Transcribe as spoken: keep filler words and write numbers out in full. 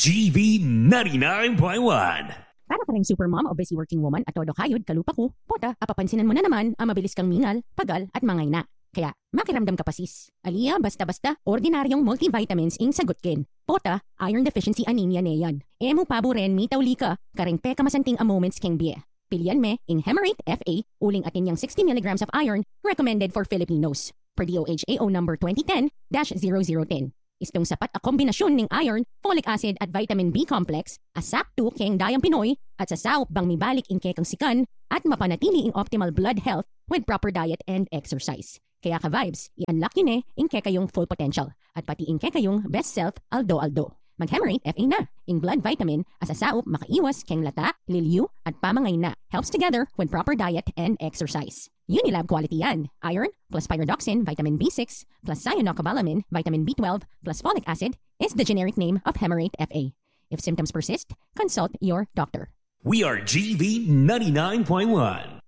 G V ninety-nine point one. Para ka ring supermom o busy working woman a todo kayud kalupa ku, pota, apapansinan mu na naman a mabilis kang mingal, pagal, at mangaina. Kaya, makiramdam ka pa, sis. Ali ya, basta-basta, ordinaryong multivitamins ing sagut ken. Pota, iron deficiency anemia ne yan. E mu paburen mitauli ka kareng pekamasanting a moments keng bie. Pilian me ing Hemarate F A, uling atin yang sixty milligrams of iron, recommended for Filipinos, per D O H A O number twenty ten dash zero zero ten. Istung sapat a kombinasyun ning iron, folic acid at vitamin B complex a saktu keng dayang Pinoy at sasaup bang mibalik ing kekang sikan at mapanatili ing optimal blood health with proper diet and exercise. Kaya ka-vibes, i-unlock yu ne ing kekayung full potential at pati ing kekayung best self aldo-aldo. Mag-Hemarate F A na, ing blood vitamin a sasaup makaiwas keng lata, liliu, at pamangaina. Helps together with proper diet and exercise. Unilab quality yan. Iron plus pyridoxine, vitamin B six, plus cyanocobalamin, vitamin B twelve, plus folic acid is the generic name of Hemarate F A. If symptoms persist, consult your doctor. We are G V ninety-nine point one.